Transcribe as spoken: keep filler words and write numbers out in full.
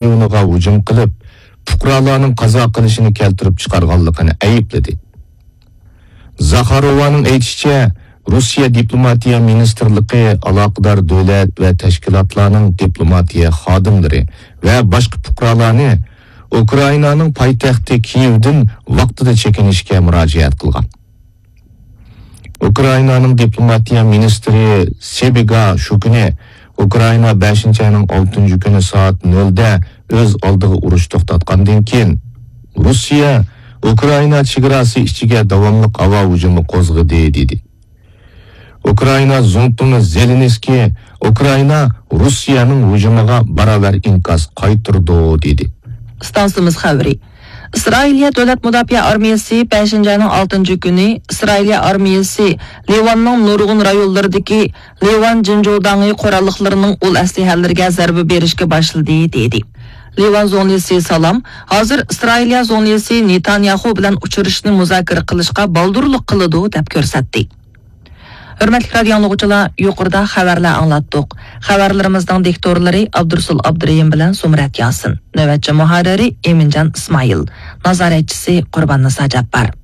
رايونىغا ھۇجۇم قىلىپ، پۇقرالارنىڭ قازا قىلىشىنى كەلتۈرۈپ چىقارغانلىقىنى ئەيىبلىدى. زاخاروۋانىڭ ئېيتىشىچە، روسىيە دىپلوماتىيە مىنىستىرلىقى ئالاقىدار دۆلەت ۋە تەشكىلاتلارنىڭ دىپلوماتىيە خادىملىرى ۋە باشقا پۇقرالارنى ئۇكرائىنانىڭ پايتەختى كىيېۋدىن ۋاقتىدا چېكىنىشكە مۇراجىئەت قىلغان. ئۇكرائىنانىڭ دىپلوماتىيە مىنىستىرى سېبىگا شۇ كۈنى ئۇكرائىنا بەشىنچى ئاينىڭ ئالتىنچى كۈنى سائەت نۆلدە ئۆز ئالدىغا ئۇرۇش توختاتقاندىن كېيىن، روسىيە ئۇكرائىنا چېگراسى ئىچىگە داۋاملىق ھاۋا ھۇجۇمى قوزغىدى، دېدى. ئۇكرائىنا زۇڭتۇڭى زېلېنسكىي ئۇكرائىنا روسىيەنىڭ ھۇجۇمىغا باراۋەر ئىنكاس قايتۇرىدۇ، دېدى. ئىستانسىمىز خەۋىرى. ئىسرائىلىيە دۆلەت مۇداپىئە ئارمىيەسى بەشىنچى ئاينىڭ ئالتىنچى كۈنى ئىسرائىلىيە ئارمىيەسى لىۋاننىڭ نۇرغۇن رايونلىرىدىكى لىۋان جىنجۇداڭى قوراللىقلىرىنىڭ ئۇل ئەسلىھەلىرىگە زەربە بېرىشكە باشلىدى، دېدى. لىۋان زۇڭلىسى سالام ھازىر ئىسرائىلىيە زۇڭلىسى نېتانياخۇ بىلەن ئۇچرىشىشنى مۇزاكىرە قىلىشقا بالدۇرلۇق قىلىدۇ، دەپ كۆرسەتتى. ھۆرمەتلىك رادىيو ئاڭلىغۇچىلار، يۇقىرىدا خەۋەرلەر ئاڭلاتتۇق. خەۋەرلىرىمىزنىڭ دىكتورلىرى ئابدۇرۇسۇل ئابدۇرېھىم بىلەن زۇمرەت ياسىن. نۆۋەتچى مۇھەررىرى ئېمىنجان ئىسمائىل. نازارەتچىسى قۇربان نىسا جاپپار.